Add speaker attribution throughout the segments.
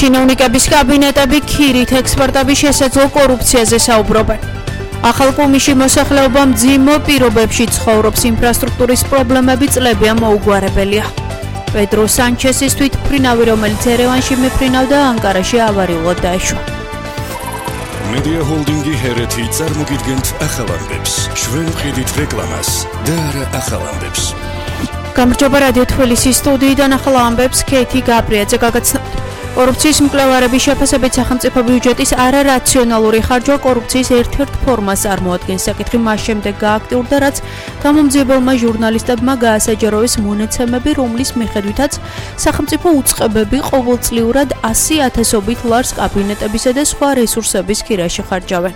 Speaker 1: ჩინოვნიკების კაბინეტები ქირით ექსპერტები შესაძლო კორუფციაზე საუბრობენ. ახალ კომიში მოსახლეობა მძიმე პირობებში ცხოვრობს, ინფრასტრუქტურის პრობლემები წლებია მოუგვარებელია. პედრო სანჩესის თვითმფრინავი, რომელიც ერევანში მიფრინავდა, ანკარაში ავარიულად დაეშვა.
Speaker 2: Media Holding-ი ჰერეთი წარმოგიდგენთ ახალ ამბებს. ჩვენ ვყიდით რეკლამას და არა ახალ ამბებს.
Speaker 1: გამარჯობა რადიო თბილისის სტუდიიდან ახალ ამბებს ქეითი გაბრიაძე გაგაცნობთ. კორუფციის მკვლევარების შეფასებით სახელმწიფო ბიუჯეტის არარაციონალური ხარჯვა კორუფციის ერთ-ერთ ფორმას წარმოადგენს. საკითხი მას შემდეგ გააქტიურდა, რაც გამომძიებელმა ჟურნალისტებმა გაასაჯაროეს მონაცემები, რომლის მიხედვითაც სახელმწიფო უწყებები ყოველწლიურად 100,000-ობით ლარს კაბინეტებისა და სხვა რესურსების ქირაში ხარჯავენ.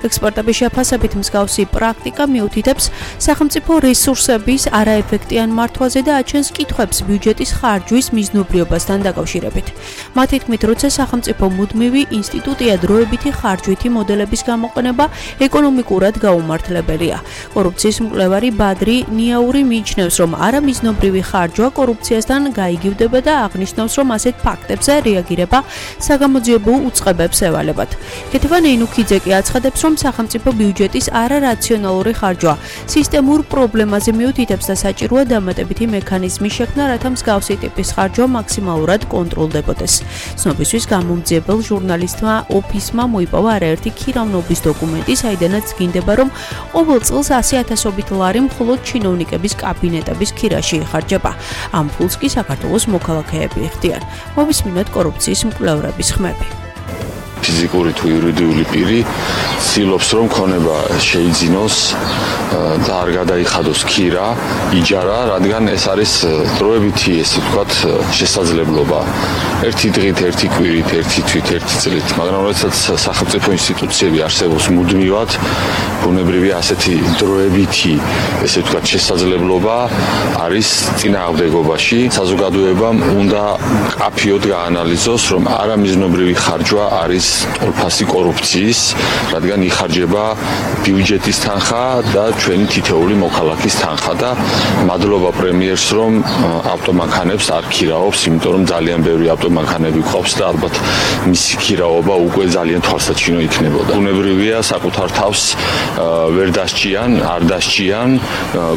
Speaker 1: ექსპერტების შეფასებით მსგავსი პრაქტიკა მიუთითებს სახელმწიფო რესურსების არაეფექტიან მართვაზე და აჩენს კითხვებს ბიუჯეტის ხარჯვის მიზნობრიობასთან დაკავშირებით. მათი თქმით, როცა სახელმწიფო მუდმივი ინსტიტუტია, დროებითი ხარჯვითი მოდელების გამოყენება ეკონომიკურად გაუმართლებელია. კორუფციის მკვლევარი ბადრი ნიაური მიიჩნევს, რომ არამიზნობრივი ხარჯვა კორუფციასთან გაიგივდება და აღნიშნავს, რომ ასეთ ფაქტებზე რეაგირება საგამოძიებო უწყებებს ევალებათ. ქეთევან ენუქიძე კი აცხადებს, რომ სახელმწიფო ბიუჯეტის არარაციონალური ხარჯვა სისტემურ პრობლემაზე მიუთითებს და საჭიროა დამატებითი მექანიზმის შექმნა, რათა მსგავსი ტიპის ხარჯვა მაქსიმალურად კონტროლდებოდეს. ცნობისთვის გამომძიებელ ჟურნალისტმა ოფისმა მოიპოვა არაერთი ქირავნობის დოკუმენტი, საიდანაც დგინდება, რომ ყოველ წელს 100,000-ობით ლარი მხოლოდ ჩინოვნიკების კაბინეტების ქირაში იხარჯება. ამ ფულს კი საქართველოს მოქალაქეები იხდიან. მოვისმინოთ კორუფციის მკვლევრების ხმები.
Speaker 3: ფიზიკური თუ იურიდიული პირი ცდილობს, რომ ქონება შეიძინოს და არ გადაიხადოს ქირა, იჯარა, რადგან ეს არის დროებითი, ესე ვთქვათ, შესაძლებლობა. ერთი დღით, ერთი კვირით, ერთი თვით, ერთი წლით, მაგრამ როდესაც სახელმწიფო ინსტიტუციები არსებობს მუდმივად, ბუნებრივია ასეთი დროებითი, ესე ვთქვათ, შესაძლებლობა არის წინააღმდეგობაში. საზოგადოებამ უნდა კაფიოდ გაანალიზოს, რომ არამიზნობრივი ხარჯვა არის ტოლფასი კორუფციის, რადგან იხარჯება ბიუჯეტის თანხა და ჩვენი თითოეული მოქალაქის თანხა და მადლობა პრემიერს, რომ ავტომანქანებს არ ქირაობს, იმიტომ რომ ძალიან ბევრი ავტომანქანები ყავს და ალბათ მისი ქირაობა უკვე ძალიან თვალსაჩინო იქნებოდა. ბუნებრივია საკუთარ თავს ვერ დასჭიან, არ დასჭიან,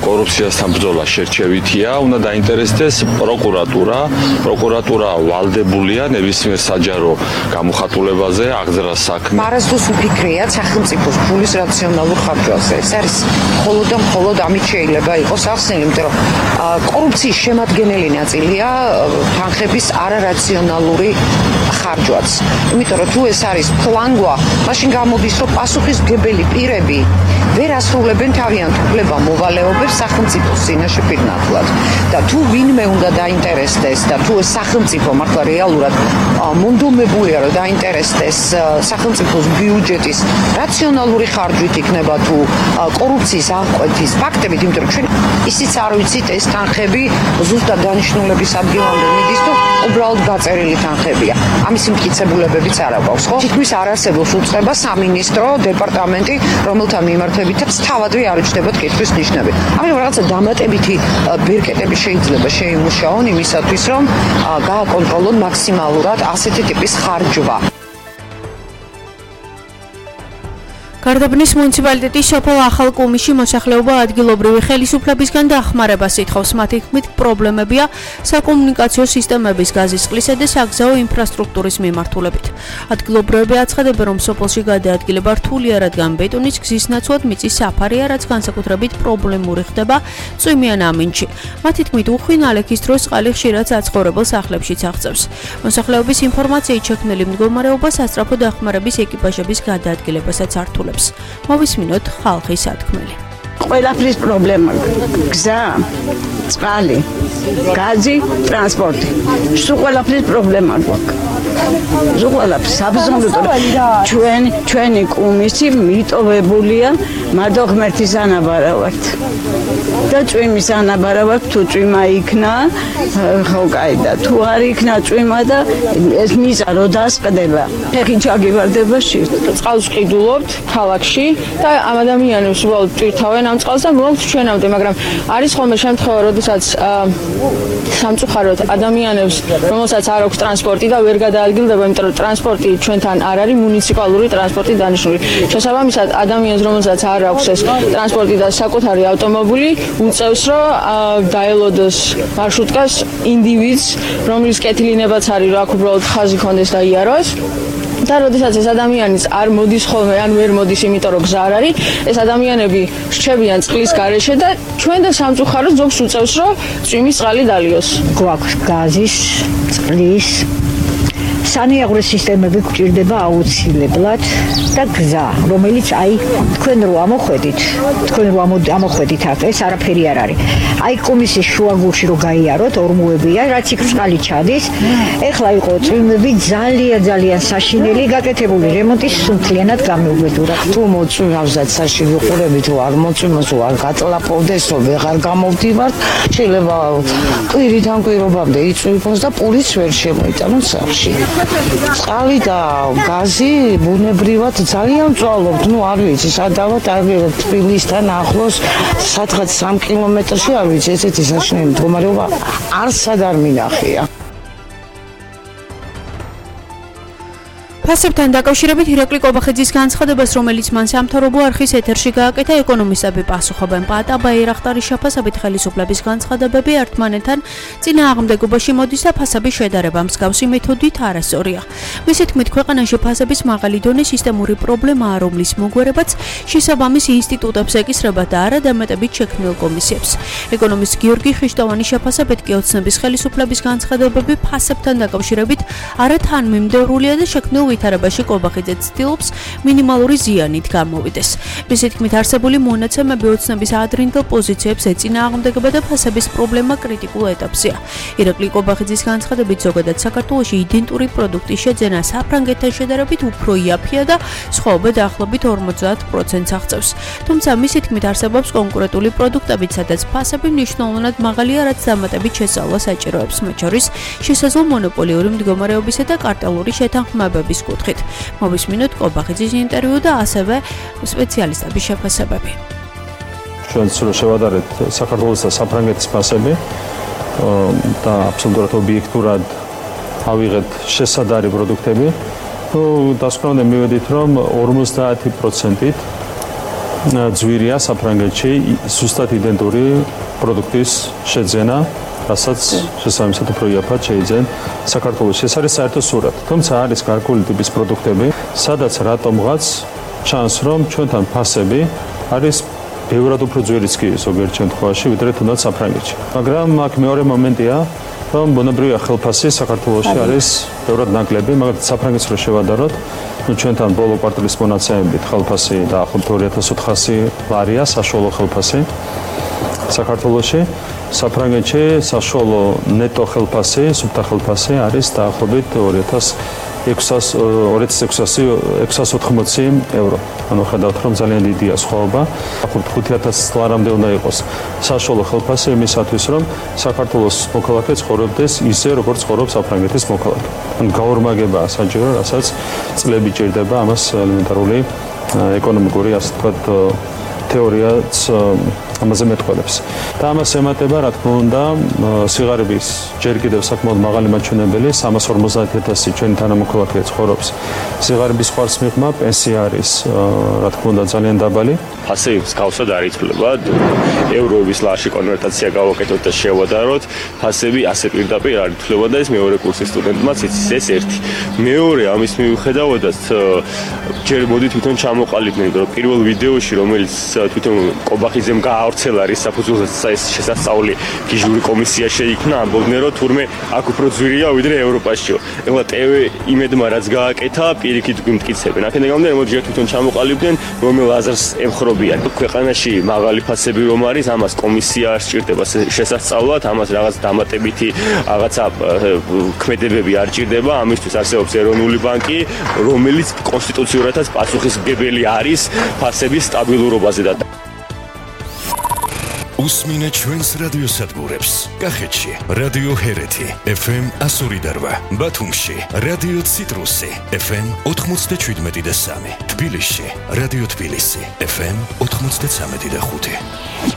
Speaker 3: კორუფციასთან ბრძოლა შერჩევითია, უნდა დაინტერესდეს პროკურატურა. პროკურატურა ვალდებულია ნებისმიერ საჯარო გამოხატულებაზე აღძრას საქმე.
Speaker 4: მარასდროს უფიქრია სახელმწიფოს ფულის რაციონალურ ხარჯვაზე. ეს არის მხოლოდ ამით შეიძლება იყოს ახსნილი, იმიტომ რომ კორუფციის შემადგენელი ნაწილია თანხების არარაციონალური ხარჯვაც. იმიტომ რომ თუ ეს არის ფლანგვა, მაშინ გამოდის, რომ პასუხისმგებელი პირები ვერ ასრულებენ თავიანთ უფლება-მოვალეობებს სახელმწიფოს წინაშე პირნათლად. და თუ ვინმე უნდა დაინტერესდეს და თუ ეს სახელმწიფო მართლა რეალურად მონდომებულია, რომ დაინტერესდეს სახელმწიფოს ბიუჯეტის რაციონალური ხარჯვით იქნება თუ კორუფციის აღკვეთის ფაქტებით, იმიტომ რომ ჩვენ ისიც არ ვიცით ეს თანხები ზუსტად დანიშნულების ადგილამდე მიდის თუ უბრალოდ გაწერილი თანხებია. ამის მტკიცებულებებიც არ აქვს, ხო? თითქმის არ არსებობს უწყება, სამინისტრო, დეპარტამენტი, რომელთა მიმართებითაც თავადვე არ უჩნდებათ კითხვის ნიშნები. ამიტომ რაღაცა დამატებითი ბირკეტები შეიძლება შეიმუშაონ იმისათვის, რომ გააკონტროლონ მაქსიმალურად ასეთი ტიპის ხარჯვა.
Speaker 1: გარდაბნის მუნიციპალიტეტის სოფელ ახალ კუმიში მოსახლეობა ადგილობრივი ხელისუფლებისგან დახმარებას ითხოვს. მათი თქმით, პრობლემებია საკომუნიკაციო სისტემების, გაზის, წყლისა და საგზაო ინფრასტრუქტურის მიმართულებით. ადგილობრივები აცხადებენ, რომ სოფელში გადაადგილება რთულია, რადგან ბეტონის გზის ნაცვლად მიწის საფარია, რაც განსაკუთრებით პრობლემური ხდება წვიმიან ამინდში. მათი თქმით, უხვინ ალექის დროს წყალი ხშირად საცხოვრებელ სახლებშიც აღწევს. მოსახლეობის ინფორმაციით შექმნილი მდგომარეობა სასწრაფო დახმარების ეკიპაჟების გადაადგილებასაც ართულებს. მოვისმინოთ ხალხის სათქმელი.
Speaker 5: ყველაფრის პრობლემა გზა, წყალი, გაზი, ტრანსპორტი. სულ ყველაფრის პრობლემა გვაქვს. სულ ყველაფრის აბსოლუტურად ჩვენი კუმისი მიტოვებულია მადო ღმერთის ანაბარავად. და წვიმის ანაბარავად თუ წვიმა იქნა, ხო კაი და თუ არ იქნა წვიმა და ეს მიზა რო დასყდება, ფეხი ჩაგივარდება შირთ.
Speaker 6: წყალს ყიდულობთ ქალაქში და ამ ადამიანებს უბრალოდ ტვირთავენ ამ წყალს და უბრალოდ ჩვენამდე, მაგრამ არის ხოლმე შემთხვევა, როდესაც სამწუხაროდ ადამიანებს, რომელსაც არ აქვს ტრანსპორტი და ვერ გადაადგილდება, იმიტომ რომ ტრანსპორტი ჩვენთან არ არის მუნიციპალური ტრანსპორტი დანიშნული. შესაბამისად, ადამიანს, რომელსაც არ აქვს ეს ტრანსპორტი და საკუთარი ავტომობილი, უწევს, რომ დაელოდოს მარშრუტკას ინდივიდს, რომლის კეთილინებაც არის, რომ აქ უბრალოდ ხაზი ქონდეს და იაროს. და როდესაც ეს ადამიანის არ მოდის ხოლმე, ან ვერ მოდის, იმიტომ რომ გზა არ არის, ეს ადამიანები რჩებიან წყლის გარეშე და ჩვენ და სამწუხაროდ ზოგს უწევს, რომ წვიმის წყალი დალიოს.
Speaker 7: გვაქვს გაზის, წყლის, სანიაღვრე სისტემები გვჭირდება აუცილებლად და გზა, რომელიც აი თქვენ რო ამოხვედით აქ, ეს არაფერი არ არის. აი კომისიის შუაგულში რო გაიაროთ, ორმოებია, რაც იქ წყალი ჩადის. ეხლა იყო წვიმები ძალიან საშინელი, გაკეთებული რემონტი სულთლიანად გამეუბედურა.
Speaker 4: თუ მოწვიმავსად საშინელი ყურებით რო არ მოწვიმოს, არ გატლაპოვდესო, ვეღარ გამოვდივართ, შეიძლება კვირიდან კვირობამდე იწვიმოს და პულიც ვერ შემოიტანოს სახში. წყალი და გაზი ბუნებრივად ძალიან მწვალობთ, არ ვიცი, სადავად თბილისთან ახლოს, სადღაც 3 კილომეტრში, არ ვიცი, ესეთი საშინელი მდგომარეობა არსად არ მინახია.
Speaker 1: ფასებთან დაკავშირებით ირაკლი კობახიძის განცხადებას, რომელიც მან სამთავრობო არხის ეთერში გააკეთა, ეკონომისტები პასუხობენ. პატა ბაირახტარის შეფასებით ხელისუფლების განცხადებები ერთმანეთთან წინააღმდეგობაში მოდის და ფასების შედარება მსგავსი მეთოდით არასწორია. მისი თქმით, ქვეყანაში ფასების მაღალი დონე სისტემური პრობლემაა, რომლის მოგვარებაც შესაბამის ინსტიტუტებს ეკისრება და არა დამატებით შექმნილ კომისიებს. ეკონომისტ გიორგი ხვიჩტოვანის შეფასებით კი ოცნების ხელისუფლების განცხადებები ფასებთან დაკავშირებით არა თანმიმდევრულია და შექმნილ ვითარებაში კობახიძე ცდილობს მინიმალური ზიანით გამოვიდეს. მისი თქმით, არსებული მონაცემები ოცნების ადრინდელ პოზიციებს ეწინააღმდეგება და ფასების პრობლემა კრიტიკულ ეტაპზეა. ირაკლი კობახიძის განცხადებით, ზოგადად საქართველოში იდენტური პროდუქტის შეძენა საფრანგეთთან შედარებით უფრო იაფია და სხვაობა დაახლოებით 50%-ს აღწევს. თუმცა მისი თქმით, არსებობს კონკურენტული პროდუქტებიც, სადაც ფასები მნიშვნელოვნად მაღალია, რაც დამატებით შესწავლა საჭიროებს, მათ შორის შესაძლო მონოპოლიური მდგომარეობისა და კარტელური შეთანხმებების კუთხით. მოვისმინოთ კობახიძის ინტერვიუ და ასევე სპეციალისტების შეფასებები.
Speaker 8: ჩვენც რო შევადარეთ საქართველოს და საფრანგეთის ფასები და აბსოლუტურად ობიექტურად ავიღეთ შესადარი პროდუქტები, დასკვნამდე მივედით, რომ 50%-ით ძვირია საფრანგეთში ზუსტად იდენტური პროდუქტის შეძენა, რასაც შესაბამისად უფრო იაფად შეიძენ საქართველოში. ეს არის საერთო სურათი. თუმცა არის გარკვეული ტიპის პროდუქტები, სადაც რატომღაც ჩანს, რომ ჩვენთან ფასები არის ბევრად უფრო ძვირიც კი ზოგიერთ შემთხვევაში, ვიდრე თუნდაც საფრანგეთში. მაგრამ აქ მეორე მომენტია, რომ ბუნებრივია ხელფასი საქართველოში არის ბევრად ნაკლები, მაგრამ საფრანგეთს რო შევადაროთ, ჩვენთან ბოლო კვარტალის მონაცემებით ხელფასი დაახლოებით 2400 ლარია საშუალო ხელფასი საქართველოში. საფრანგეთში საშუალო ნეტო ხელფასი, სუფთა ხელფასი არის დაახლოებით 2680 ევრო. ანუ ხედავთ, რომ ძალიან დიდია სხვაობა. დაახლოებით 5000 ლარამდე უნდა იყოს საშუალო ხელფასი იმისათვის, რომ საქართველოს მოქალაქე ცხოვრობდეს ისე, როგორც ცხოვრობს საფრანგეთის მოქალაქე. ანუ გაორმაგებაა საჭირო, რასაც წლები ჭირდება ამას ელემენტარული ეკონომიკური, ასე ვთქვათ, თეორიაც ამაზე მეტყველებს. და ამას ემატება, რა თქმა უნდა, სიღარიბის ჯერ კიდევ საკმაოდ მაღალი მაჩვენებელი, 350.000 ჩვენი თანამოქალაქე ცხოვრობს სიღარიბის ხარჯს მიღმა, პენსია არის, რა თქმა უნდა, ძალიან დაბალი.
Speaker 9: ფასები მსგავსად არ იცვლება. ევროების ლარში კონვერტაცია გავაკეთოთ და შევადაროთ, ფასები ასე პირდაპირ არ იცვლება და ეს მეორე კურსის სტუდენტმაც იცის, ეს ერთი. მეორე ამის მიუხედავადაც ჯერ მოდი თვითონ ჩამოყალიბდნენ, რომ პირველ ვიდეოში, რომელიც თვითონ კობახიძემ გაავრცელა რის საფუძველზე ეს შესასწავლი გიჟური კომისია შეიქმნა, ამბობდნენ, რომ თურმე აქ უფრო ძვირია ვიდრე ევროპაშიო. ეხლა TV იმედმა რაც გააკეთა, პირიქით გვიმტკიცებენ. აქედან გამომდინარე, მოდი ჯერ თვითონ ჩამოყალიბდნენ, რომელ აზრს ემხრობიან. ქვეყანაში მაღალი ფასები რომ არის, ამას კომისია არ სჭირდება შესასწავლად, ამას რაღაც დამატებითი რაღაცა ქმედებები არ ჭირდება, ამისთვის არსებობს ეროვნული ბანკი, რომელიც კონსტიტუციურადაც პასუხისმგებელი არის ფასების სტაბილურობაზე და
Speaker 2: უსმინე ჩვენს რადიოსადგურებს. კახეთში რადიო ჰერეთი FM 102.8, ბათუმში რადიო ციტრუსი FM 97.3, თბილისში რადიო თბილისი FM 93.5.